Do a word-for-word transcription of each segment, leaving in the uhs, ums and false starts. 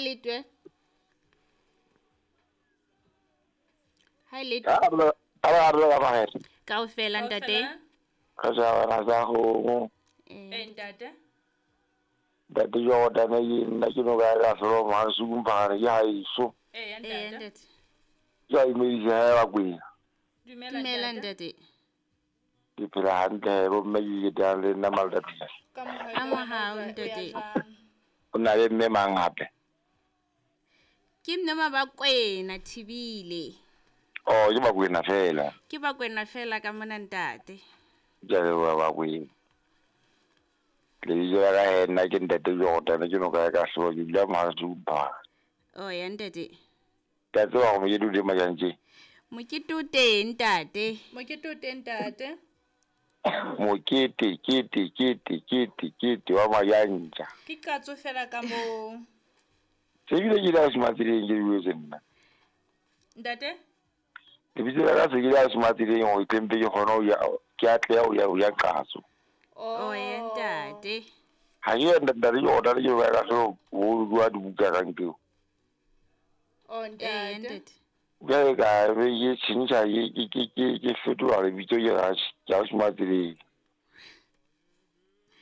letwe. Ha letwe. A ba re ba ba Kaofela ntate. Ka ja ra za go. Eh ntate. Ntate yo da ne nna ke no ga ga solo ma su mpare ya iso. Eh ntate. Ya imedise ha ba kwena. Dumela ntate. Ke phela hantle bo mme ke ke le nna malata. Ka mohau ntate. O na le mme mang hape? Ke mme Mabakwena Thibile. Oh, ke Bakwena fela. Ke Bakwena fela ka mona ntate. Ke a leboha Bakwena. Lebitso la ka he nna ke ntate Jordan ke no ka ka hloka ke dula Mahatsumpa. Oh ya ntate. Ke a tseba gore mokete o teng majantjeng. Mokete o teng ntate. Mokete o teng ntate. Mokete kete kete kete kete wa majantja. Ke qatso fela ka moo. Se bile ke la smatsileng ke buetse nna. Ntate? Lebitso la ka se ke la smatsileng hore ke mpe ke kgone ho ya ke atleha ho ya ho ya qatso. Oh ya ntate. Ha ke ya ntate Jordan ke ba ka hloka ho bua dibuka ka nkeo. Oh ntate. Jwale ka be ke tjhentjha ke ke ke ke fetola lebitso ke ra ke a smatsileng.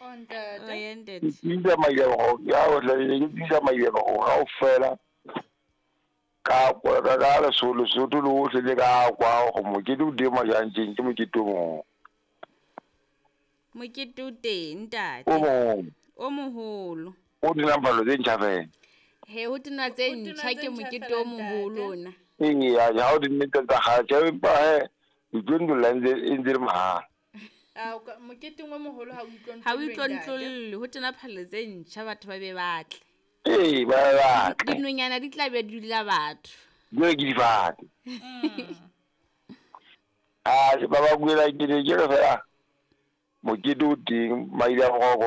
Oh ntate. Oh ya ntate. Ke tiisa mailego ya o tla ke tiisa mailego kaofela. Ka kwa ka ka Lesotho Lesotho lohle le ka kwa go mokete o teng majantjeng ke mokete o mong. Mokete o teng ntate. O mong. O moholo. O dinang phalo tse ntjha fela. He ho tena tse ntjha ke mokete o moholo ona. Ee ya ha o di nnete tsa kgale tjhe empa he itlontlolla ntse e ntse le mahala. Ah moketeng o moholo ha o itlontlolle. Ha o itlontlolle ho tena phalo tse ntjha batho ba be batle. Ee ba batle. Dinonyana di tla be di dula batho. Jwale ke difate. Ah ba ba buela ke ne ke re fela mokete o teng maile a